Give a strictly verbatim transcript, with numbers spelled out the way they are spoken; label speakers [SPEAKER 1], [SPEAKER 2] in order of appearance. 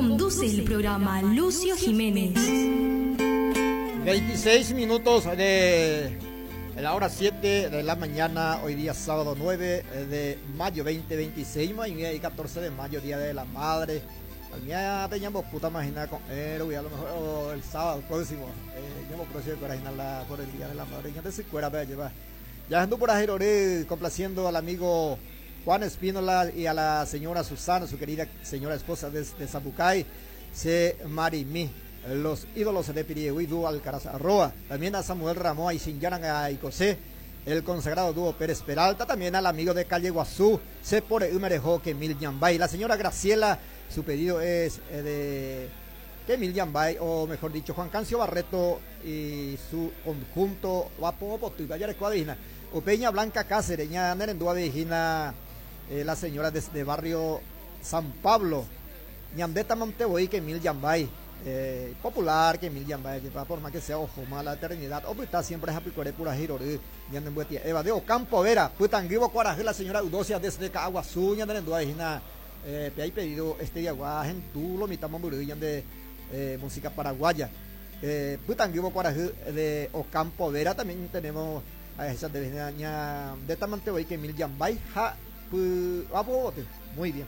[SPEAKER 1] Conduce el programa Lucio Jiménez.
[SPEAKER 2] veintiséis minutos de la hora siete de la mañana, hoy día sábado nueve de mayo dos mil veintiséis, y catorce de mayo, Día de la Madre. Mía teníamos puta imagina con él, a lo mejor el sábado próximo, eh, próximo por el Día de la Madre, ya te se lleva. Ya ando por ahí complaciendo al amigo Juan Espínola y a la señora Susana, su querida señora esposa de Zapucay, C. Marimí, los ídolos de Piriegüí, dúo Alcaraz Arroa, también a Samuel Ramón y Sinyaran a Icosé, el consagrado dúo Pérez Peralta, también al amigo de Calle Guazú, C. por Umerejo, Kemil Yambay, la señora Graciela, su pedido es eh, de Kemil Yambay, o mejor dicho, Juan Cancio Barreto y su conjunto Guapo o Peña Blanca Cáceres, ña Nerendúa de eh, la señora desde barrio San Pablo, Ñandeta Montevoy, Kemil Yambay, eh, popular que mil yamba que por más que sea ojo mala eternidad o está siempre happy pura girori Eva de Ocampo Vera putanguibo cuaraje la señora Eudosia desde Caguazú ñande eh, hay pedido este día en lo mitad de eh, música paraguaya eh, putanguibo cuaraje de Ocampo Vera. También tenemos a esa de de Tamantevoy que mil yambay ja muy bien.